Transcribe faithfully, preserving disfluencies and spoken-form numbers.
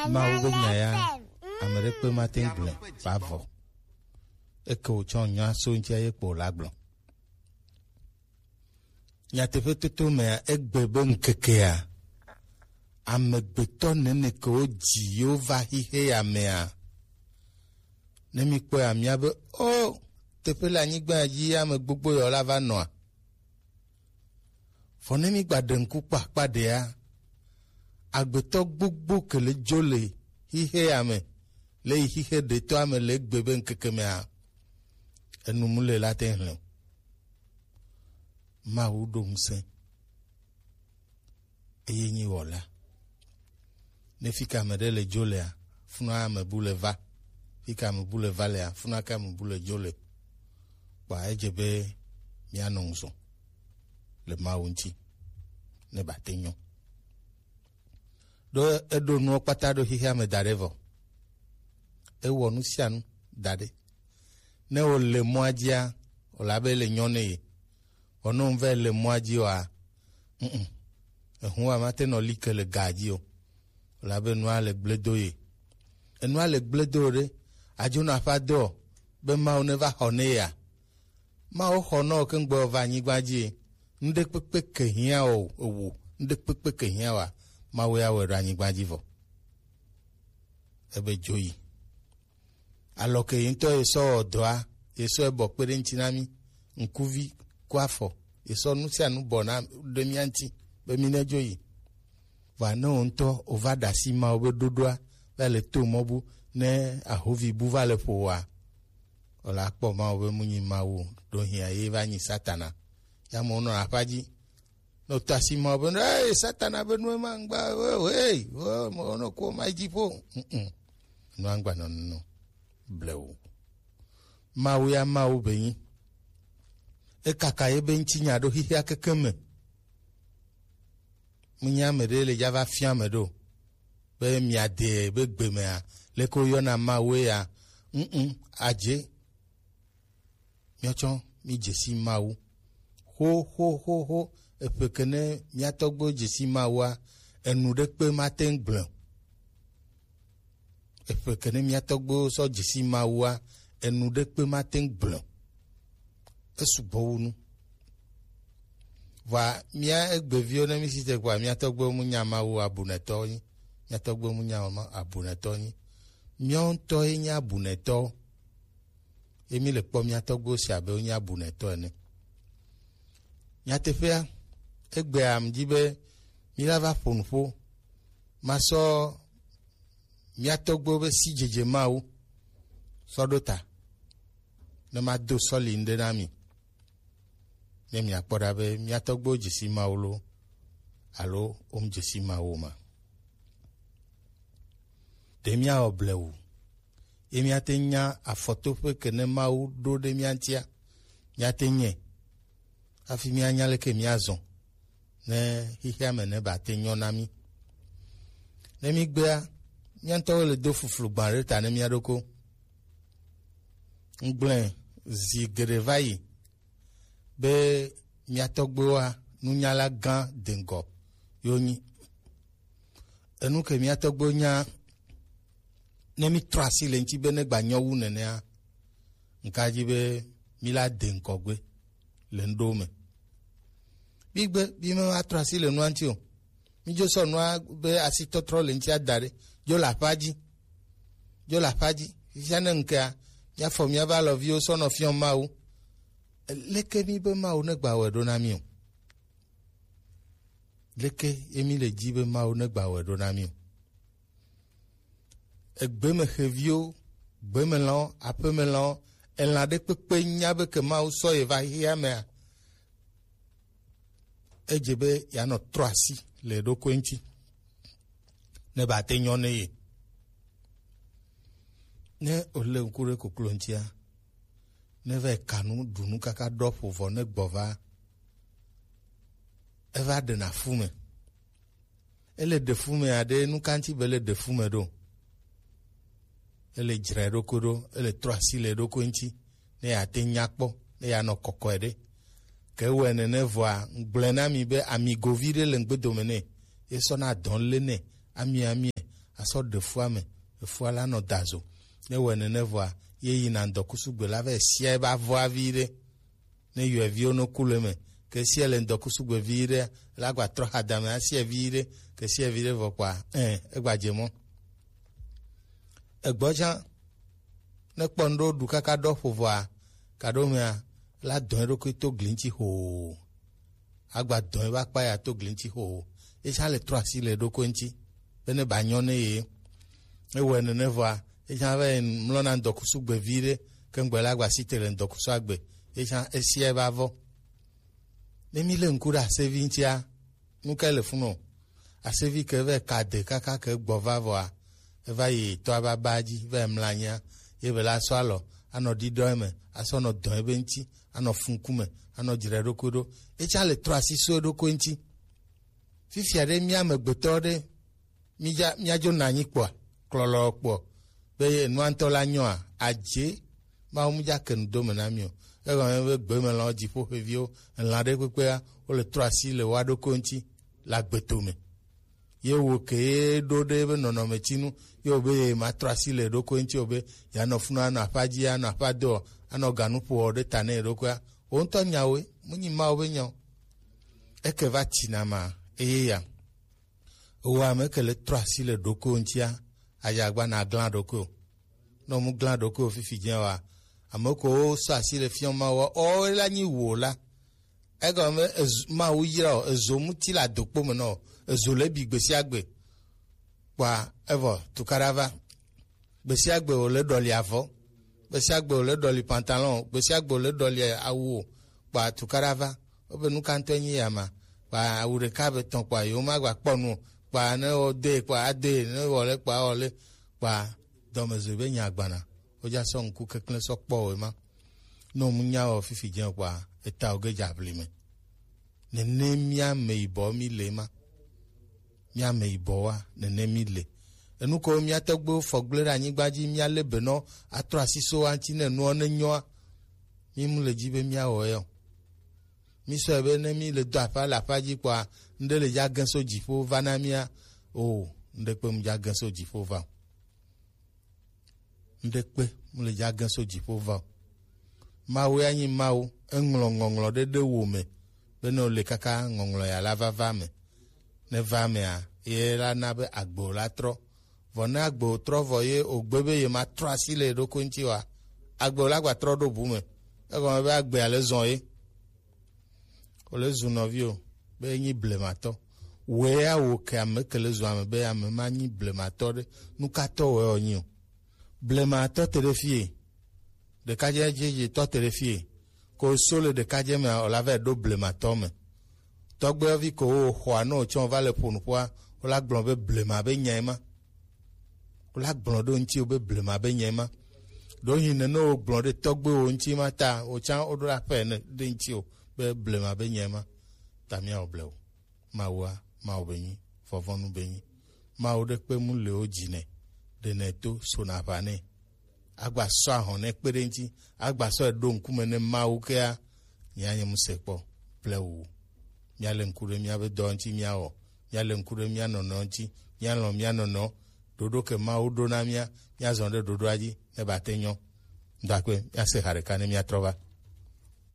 Mawu be nya ya, ame ɖekpe mate ŋu gblɔe vavɔ. Eke wòtsɔ nya so ŋuti eye kpo wòle agblɔ. Nyateƒe toto mea, egbe be ŋkekea, amegbetɔ nene ke wodzi yewo va xixe ya mea, ne mikpɔe ya, miabe, o, teƒe le anyigba ya dzi ame gbogbo yawo la va nɔa? Vɔ ne migbaɖe ŋku kpakpa ɖea, agbetɔ gbogbo ke le dzo le xixe ya me, le yi xixe ɖetɔa me le egbe be ŋkeke mea, enu mu le la te ŋu hlẽ o. Mawu ɖo ŋusẽ, eye nyi wɔla. Ne fi ka ame ɖe le dzo lea, funa ame bu le va. Fi ka ame bu le va lea, funa ka ame bu le dzo le. Kpa edze be mianɔ ŋusɔ le Mawu ŋuti ne bate nyɔ. Ɖo eɖo nuwo kpata ɖo xexea me da ɖe vɔ. Ewɔ nu sia nu da ɖe. Ne wòle mɔa dzia, wòle abe le nyɔ ne ye. Vɔ ne wòva le mɔa dzi oa, mm, ehu wa mate nɔ li ke le ga dzi o. Wòle abe nua le gble do ye. Enua le gble do ɖe, adzo nɔ aƒa do be Mawu ne va xɔ ne ya. Mawu xɔ nɔ ke ŋgbe va anyigba dzi. Ŋɖe kpekpe ke hiã o, ewo, ŋɖe kpekpe ke hiã wa, Mawu ya wɔ ɖo anyigba dzi vɔ. Ebe dzo yi. Alɔ ke yi ŋutɔ yi sɔ wɔ dɔa, yi sɔ ebɔ kpe ɖe ŋuti na mí, ŋkuvi ku afɔ, yi sɔ nu sia nu bɔ na ɖe mía ŋuti be mí ne dzo yi. Vɔa ne wò ŋutɔ wòva ɖe asi Mawu be ɖoɖoa, va le to mɔ bu, ne ahovi bu va le ƒo wòa, wòle akpɔ Mawu be mu nyi Mawu o, ɖo hiã ye va nyi Satana. Ya mo nɔ aƒa dzi. No tasi ma be, hey, Satana be nu ma ngba, hey, hey, mo no ko ma dzi ƒo. Mm-mm. No angba no no. Blewu. Mawu ya Mawu be nyi. Ekaka ye be ŋuti nya ɖo xixia keke me. Munya ame ɖe le dza va fia ame ɖo. Be miade be gbe mea, leke woyɔna Mawu ya. Mm-mm. Adze. Míatsɔ mí dzesi Mawu. Xo, xo, xo, xo. Eƒe ke ne mía tɔgbuiwo dzesi Mawua, enu ɖekpe mate ŋu gblẽ o. Eƒe ke ne mía tɔgbuiwo sɔ dzesi Mawua, enu ɖekpe mate ŋu gblẽ o. Esugbɔ wu nu. Vɔa mía egbeviwo ne mí si te kpɔa, mía tɔgbuiwo mu nya Mawu abunɛtɔwo nyi. Mía tɔgbuiwo mu nya ma-, abunɛtɔwo nyi. Míawo ŋutɔ ye nye abunɛtɔwo. Ye mí le kpɔ mía tɔgbuiwo si abe wonye abunɛtɔ ene. Nyateƒea, egbea mdi be mí la va ƒo nu ƒo. Masɔ mía tɔgbuiwo be sidzedze Mawu sɔ ɖo ta. Ne mado sɔli ŋɖe na mi. Ne miakpɔ ɖa be mía tɔgbuiwo dzesi Mawu lo, alo wom dzesi Mawu o ma. Ɖe míawɔ blewu. Ye míate nya afɔtoƒe ke ne Mawu ɖo ɖe mía ŋutia, míate nyɛ. Hafi míanya leke míazɔ ne xexea me ne bate nyɔ na mí. Ne mígbea, mía ŋutɔwo le do fuflu gbã ɖe ta ne mía ɖokɔ. Ŋgblẽ zi geɖe va yi be mía tɔgbuiwoa, nunyala gã deŋgɔ yewo nyi. Enu ke mía tɔgbuiwo nya, ne mí trɔ asi le ŋuti be ne gba nyɔ wu nenea, ŋka dzi be mí la de ŋkɔ gbe le ŋɖewo me. Mí gbe, mí me va trɔ asi le nua ŋuti o. Mí dzo sɔ nua be asitɔtrɔ le ŋuti ada ɖe. Dzo le aƒa dzi. Dzo le aƒa dzi. Fifia ne ŋkea, míafɔ míaƒe alɔviwo sɔ nɔ fiɔ Mawu. Leke mí be Mawu ne gba wɔe ɖo na mí o? Leke ye mí le dzi be Mawu ne gba wɔe ɖo na mí o? Egbeme xeviwo, gbemelãwo, aƒemelãwo, elã ɖe kpekpe nya be ke Mawu sɔ ye va xexea mea, edze be yeanɔ trɔ asi le eɖokui ŋuti ne bate nyɔ ne ye. Ne wòle ŋku ɖe koklo ŋutia, ne va yi ka nu, ɖu nu kaka ɖɔ ƒo vɔ ne gbɔ va, eva ɖena fu me. Ele ɖe fu me aɖe, nu ka ŋuti be le ɖe fu me ɖo? Ele dzra eɖokui ɖo, ele trɔ asi le eɖokui ŋuti, ne yeate nya kpɔ, ne yeanɔ kɔkɔe ɖe. Ke ewɔe nene vɔa, ŋgblɔe na mi be amigovi ɖe le ŋgbedome nɛ, ye sɔna dɔn le nɛ, ami, ami, asɔ ɖe fua me, efua la nɔ da zo. Ne wɔ nene vɔa, ye yina ŋdɔkusu gbe la vɛ sia eba vɔa vi ɖe. Ne yɔeviwo no ku le me, ke sia le ŋdɔkusu gbe vi ɖe, la gba trɔ hadame asia vi ɖe, ke sia vi ɖe vɔ kpa, ɛ, egba dze mɔ. Egbɔ tsã, ne kpɔ ŋɖo ɖu kaka ɖɔ ƒo vɔa, kaɖo mea, la dɔn eɖokui to gli ŋuti hoo. Agba dɔn eba kpa ya to gli ŋuti hoo. Etsã le trɔ asi le eɖokui ŋuti. Be ne ba nyɔ ne ye. Ewɔe nene vɔa, etsã va yi mlɔna ŋdɔkusu gbe vi ɖe, ke ŋgbɛ la gba si te le ŋdɔkusu agbe. Etsã esia eba vɔ. Ne mi le ŋku ɖe asevi ŋutia, nu kae le funu o? Asevi ke vɛ ka de kaka ke gbɔ va vɔa, eva yi tɔ aba ba dzi, vɛ mla anyia, ye be la sɔ alɔ, anɔ ɖiɖɔ eme, asɔ nɔ dɔn ebe ŋuti, anɔ funku me, anɔ dzra eɖokui ɖo. Etsã le trɔ asi so eɖokui ŋuti. Fifia ɖe mía amegbetɔ ɖe, mídza, míadzo na anyi kpɔa, klɔlɔ kpɔ, be ye nua ŋutɔ la nyɔa, adze, Mawu mu dza ke nu do me na mi o. Egɔme be gbemelãwo, dziƒo ƒeviwo, elã ɖe kpekpea, wole trɔ asi le woa ɖokui ŋuti le agbeto me. Ye wo ke ye ɖo ɖe be nɔnɔme tsi nu, ye wo be ye ma trɔ asi le ɖokui ŋuti o be, ya nɔ funu, anɔ aƒa dzi, anɔ aƒa do, anɔ ganu ƒo ɖe ta ne ɖokuia. Wo ŋutɔ nyawoe, mu nyi Mawu be nyawo. Eke va tsi na ma, eye ya. Ewɔ ame ke le trɔ asi le ɖokuiwò ŋutia, ayagba na glã ɖokuiwò. Ne mu glã ɖokuiwò fifi dze wa, ame ko sɔ asi le fiɔ Mawu wa, ɔ, la nyi wo la. Egɔme ezu, Mawu yra o, ezo muti le adokpo me nɔ, ezo le bi gbe sia gbe. Kpa evɔ tukaɖa va. Gbe sia gbe wòle ɖɔli avɔ, gbe sia gbe wòle ɖɔli pantalon, gbe sia gbe wòle ɖɔli awu o, kpa tukaɖa va. Wobe nu ka ŋutɔe nyi ya ma? Kpa awu ɖeka be tɔn kpa yewo ma gba kpɔ nu o. Kpa ne wɔ de kpa ade, ne wɔ le kpa wɔ le, kpa dɔmezɔe be nya gbana. Wodza sɔ ŋku keklẽ sɔ kpɔ wò ema. Ne wò mu nya wɔ fifi dze kpa, eta wò ge dza ʋli me. Nene mía ame yibɔ mi le ma. Mía ame yibɔ wa, nene mi le. Enu ko mía tɔgbuiwo fɔ gblẽ ɖe anyigba dzi, mía lé be nɔ atrɔ asi so wa ŋuti ne nua ne nyɔa. Mi mu le dzi be mía wɔ yɔ. Mi sɔe be ne mi le do aƒa le aƒa dzi kpɔa, ŋɖe le dza gẽ so dziƒo va na mía. O, ŋɖe kpe mu dza gẽ so dziƒo va o. Ŋɖe kpe mu le dza gẽ so dziƒo va o. Mawu ya nyi Mawu, eŋlɔ ŋɔŋlɔ ɖe ɖe wo me, be ne wòle kaka ŋɔŋlɔ ya la va va me. Ne va mea, ye la na be agbe wò la trɔ. Vɔ ne agbe wò trɔ vɔ ye wògbe be ye ma trɔ asi le ɖokui ŋuti oa, agbe wò la gba trɔ ɖo bu me. Egɔme be agbea le zɔn ye. Wòle zu nɔvi o, be enyi blematɔ. Wòe ya wò ke ame ke le zu ame be ame ma nyi blematɔ ɖe. Nu ka tɔ wòe wònyi o? Blematɔ te ɖe fie. Ɖekadze dzedze tɔ te ɖe fie. Ko so le ɖekadze mea, wòla va ɖo blematɔ me. Tɔgbuivi ko wo xɔa ne wòtsɔ va le ƒo nuƒoa, wòla gblɔ be blema be nyae ma. Wòla gblɔ ɖo ŋuti be blema be nyae ma. Ɖo hin ne ne wògblɔ ɖe tɔgbuiwo ŋuti ma ta, wòtsã woɖo aƒe ne ɖe ŋuti o be blema be nyae ma. Ta míawɔ blewu. Mawua, Mawu be nyi, vɔvɔnu be nyi. Mawu ɖe kpe mu le wo dzi nɛ, ɖe nɛ to so na aʋa nɛ. Agba sɔ ahɔn nɛ kpe ɖe ŋuti, agba sɔ ɖo ŋkume ne Mawu kea, nya nye mu se kpɔ, ple wu. Mía le ŋku ɖe mía be dɔ ŋuti mía wɔ, mía le ŋku ɖe mía nɔnɔ ŋuti, mía lɔn mía nɔnɔ, ɖoɖo ke Mawu ɖo na mía, mía zɔn ɖe ɖoɖoa dzi, ne ba te nyɔ. Ŋdɔ akpe, mía se ha ɖeka ne mía trɔ va.